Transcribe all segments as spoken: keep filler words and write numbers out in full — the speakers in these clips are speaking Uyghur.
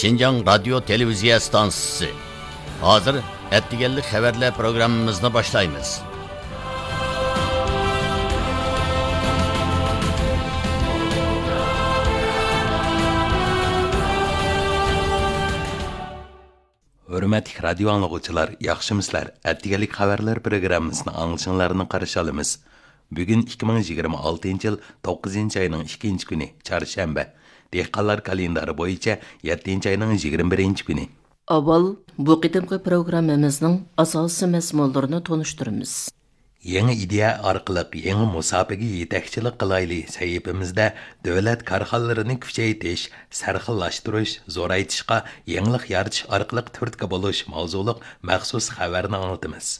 شىنجاڭ رادىيو تېلېۋىزىيە ئىستانسىسى. ھازىر ئەتىگەنلىك خەۋەرلەر پروگراممىمىزنى باشلايمىز. ھۆرمەتلىك رادىيو ئاڭلىغۇچىلار، ياخشىمۇسىلەر؟ ئەتىگەنلىك خەۋەرلەر پروگراممىسىنى ئاڭلىشىڭلارنى قارشى ئالىمىز. بۈگۈن ئىككى مىڭ يىگىرمە ئالتىنچى يىل توققۇزىنچى ئاينىڭ ئىككىنچى كۈنى، چارشەنبە. دېھقانلار كالېندارى بويىچە يەتتىنچى ئاينىڭ يىگىرمە بىرىنچى كۈنى. ئاۋۋال بۇ قېتىمقى پروگراممىمىزنىڭ ئاساسىي مەزمۇنلىرىنى تونۇشتۇرىمىز. يېڭى ئىدىيە ئارقىلىق يېڭى مۇساپىگە يېتەكچىلىك قىلايلى سەھىپىمىزدە دۆلەت كارخانىلىرىنى كۈچەيتىش، سەرخىللاشتۇرۇش، زورايتىشقا يېڭىلىق يارىتىش ئارقىلىق تۈرتكە بولۇش ماۋزۇلۇق مەخسۇس خەۋەرنى ئاڭلىتىمىز.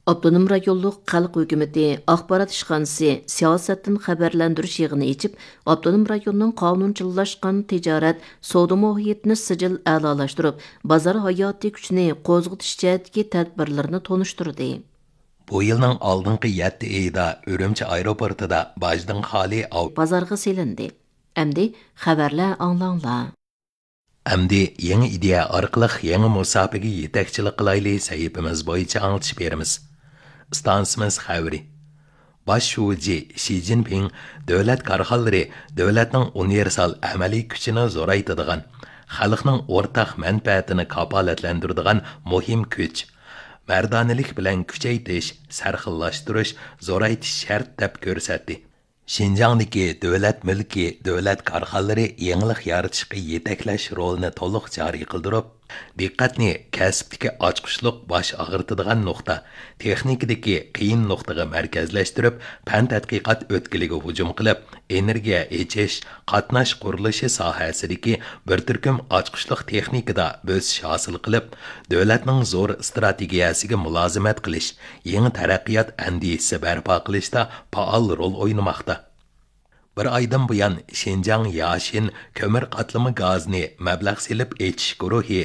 ئاپتونوم رايونلۇق خەلق ھۆكۈمىتى ئاخبارات ئىشخانىسى سىياسەتتىن خەۋەرلەندۈرۈش يىغىنى ئېچىپ، ئاپتونوم رايوننىڭ قانۇنچىلاشقان تىجارەت، سودا مۇھىتىنى سىجىل ئەلالاشتۇرۇپ، بازار ھاياتىي كۈچىنى قوزغىتىش جەھەتتىكى تەدبىرلىرىنى تونۇشتۇردى. بۇ يىلنىڭ ئالدىنقى يەتتە ئېيىدا ئۈرۈمچى ئايروپورتىدا باجدىن خالىي ئاۋ- بازارغا سېلىندى. ئەمدى خەۋەرلەر ئاڭلاڭلار. ئەمدى يېڭى ئىدىيە ئارقىلىق يېڭى مۇساپىگە يېتەكچىلىك قىلايلى سەھىپىمىز بويىچە ئاڭلىتىش بېرىمىز. ئىستانسىمىز خەۋىرى. باش شۇجى شى جىنپىڭ دۆلەت كارخانىلىرى دۆلەتنىڭ ئۇنىۋېرسال ئەمەلىي كۈچىنى زورايتىدىغان، خەلقنىڭ ئورتاق مەنپەئەتىنى كاپالەتلەندۈرىدىغان مۇھىم كۈچ، مەردانىلىك بىلەن كۈچەيتىش، سەرخىللاشتۇرۇش، زورايتىش شەرت دەپ كۆرسەتتى. شىنجاڭدىكى دۆلەت مۈلكى، دۆلەت كارخانىلىرى يېڭىلىق يارىتىشقا يېتەكلەش رولىنى تولۇق جارى قىلدۇرۇپ، دىققەتنى كەسىپتىكى ئاچقۇچلۇق باش ئاغرىتىدىغان نۇقتا، تېخنىكىدىكى قىيىن نۇقتىغا مەركەزلەشتۈرۈپ، پەن تەتقىقات ئۆتكىلىگە ھۇجۇم قىلىپ، ئېنېرگىيە ئېچىش، قاتناش قۇرۇلۇشى ساھەسىدىكى بىر تۈركۈم ئاچقۇچلۇق تېخنىكىدا بۆسۈش ھاسىل قىلىپ، دۆلەتنىڭ زور ئىستراتېگىيەسىگە مۇلازىمەت قىلىش، يېڭى تەرەققىيات ئەندىزىسى بەرپا قىلىشتا پائال رول ئوينىماقتا. بىر ئايدىن بۇيان، شىنجاڭ ياشىن كۆمۈر قاتلىما گازىنى مەبلەغ سېلىپ ئېچىش گۇرۇھى